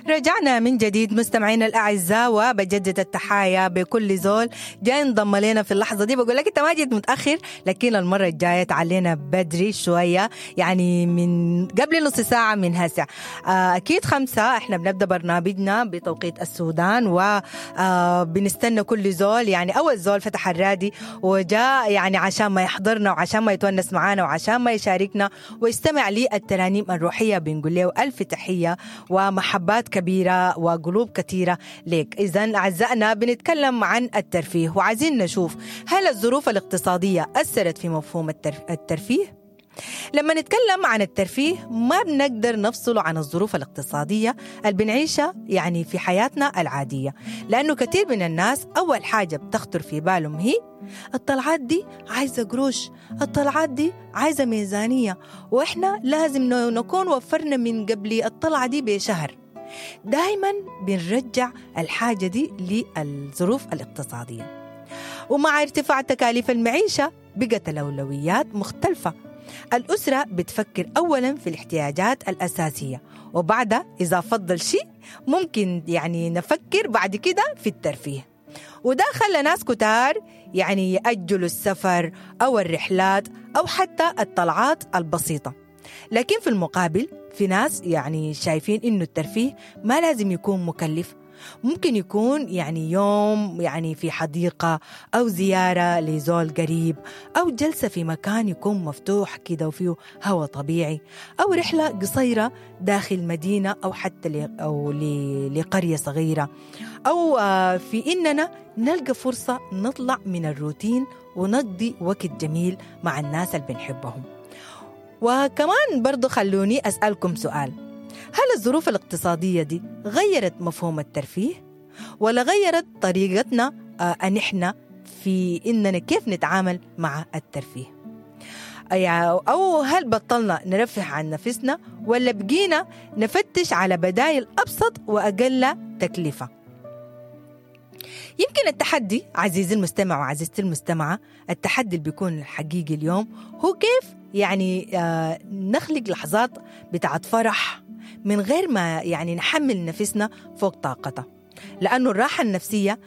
رجعنا من جديد مستمعينا الاعزاء، وبجدد التحايا بكل زول جاي انضم لنا في اللحظة دي. بقول لك انت ما جيت متاخر، لكن المرة الجاية تعالينا بدري شويه، يعني من قبل نص ساعة من هسه. اكيد 5 احنا بنبدا برنامجنا بتوقيت السودان، وبنستنى كل زول، يعني اول زول فتح الرادي وجاء يعني عشان ما يحضرنا وعشان ما يتونس معانا وعشان ما يشاركنا ويستمع للترانيم الروحيه، بنقول له الف تحية ومحبات كبيرة وقلوب كثيرة لك. إذا أعزائنا بنتكلم عن الترفيه، وعايزين نشوف هل الظروف الاقتصادية أثرت في مفهوم الترفيه؟ لما نتكلم عن الترفيه ما بنقدر نفصله عن الظروف الاقتصادية اللي بنعيشها يعني في حياتنا العادية، لأنه كثير من الناس أول حاجة بتخطر في بالهم هي الطلعات دي عايزة قروش، الطلعات دي عايزة ميزانية، وإحنا لازم نكون وفرنا من قبل الطلعة دي بشهر. دايما بنرجع الحاجة دي للظروف الاقتصادية. ومع ارتفاع تكاليف المعيشة بقت الأولويات مختلفة. الأسرة بتفكر أولا في الاحتياجات الأساسية، وبعدها إذا فضل شيء ممكن يعني نفكر بعد كده في الترفيه. وده خلى ناس كتار يعني يأجلوا السفر أو الرحلات أو حتى الطلعات البسيطة. لكن في المقابل في ناس يعني شايفين إنه الترفيه ما لازم يكون مكلف، ممكن يكون يعني يوم يعني في حديقة أو زيارة لزول قريب أو جلسة في مكان يكون مفتوح كده وفيه هواء طبيعي، أو رحلة قصيرة داخل مدينة أو حتى أو لقرية صغيرة، أو في إننا نلقى فرصة نطلع من الروتين ونقضي وقت جميل مع الناس اللي بنحبهم. وكمان برضو خلوني أسألكم سؤال: هل الظروف الاقتصادية دي غيرت مفهوم الترفيه؟ ولا غيرت طريقتنا أن إحنا في إننا كيف نتعامل مع الترفيه؟ أو هل بطلنا نرفه عن نفسنا ولا بقينا نفتش على بدائل أبسط وأقل تكلفة؟ يمكن التحدي عزيزي المستمع وعزيزتي المستمعة، التحدي اللي بيكون الحقيقي اليوم هو كيف يعني نخلق لحظات بتاعت فرح من غير ما يعني نحمل نفسنا فوق طاقتها، لأنه الراحة النفسية